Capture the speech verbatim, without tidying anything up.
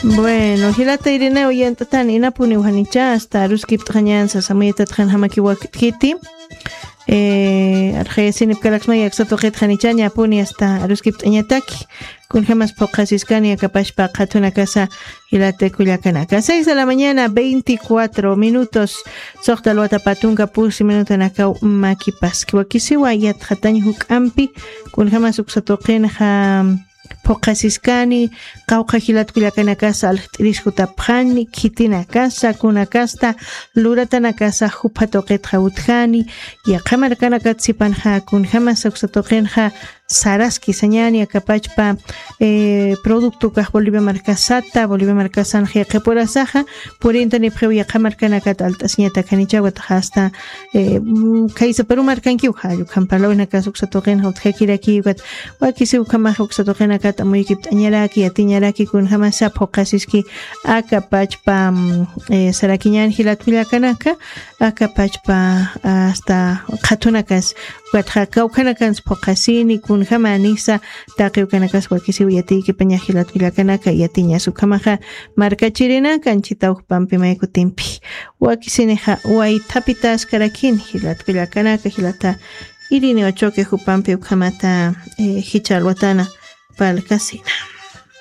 Bueno, jilata Irineo, yant'atan inapuniw janicha hasta aruskipt'xañan sasamuyatatxan jamaki wakt'kiti. Eh, arxayasinipkalaksmaya aksatuqit janicha ñapuni hasta aruskipt'añataki. Kunjamas phuqasiskani akapashpa qhatunakasa, jilata kullakanaka. Seis de la mañana, veinticuatro minutos. Soxta alwata patunka pusi minutanakaw makipaski. Wakisiwa yatxatañ juk'ampi, kunjamas uksatuqinxa phuqasiskani, qawqha jilat kullakanakasa aljt'iris jutapxani, khitinakasa, kunakasta, luratanakasa, jupha tuqitxa utjani, yaqha markanakat sipanxa, kunjamasa uksa tuqinxa, saraski sañani, akapachpa, eh, producto kax Bolivia markasata, Bolivia markasanxa yaqhipurasaxa, purintanipxiw yaqha markanakat alt'asiñatak janichawat hasta, eh, mm, kaysa Perú markankiw, jallukhan parlawinakas uksa tuqinxa utjakirakiwat, wakisiw ukhamaxa uksa tuqinakat amuyukipt'añaraki, yatiñaraki, kunjamasa phuqasiski, akapachpa, mm, eh, sarakiñan jilat kullakanaka, akapachpa, hasta qhatunakas, ukatxa kawkhanakansa phuqasini, kunjamanisa, taqi ukanakas wakisiw yatiykipaña jilat kullakanaka, yatiñas ukhamaxa, markachirinaka, anchhitaw jupampi maykutimpi. Wakisinixa, waythapitas karakin, jilat kullakanaka, jilata Irineo Choque jupampi ukhamata, eh, jichha alwatana, parlkasina.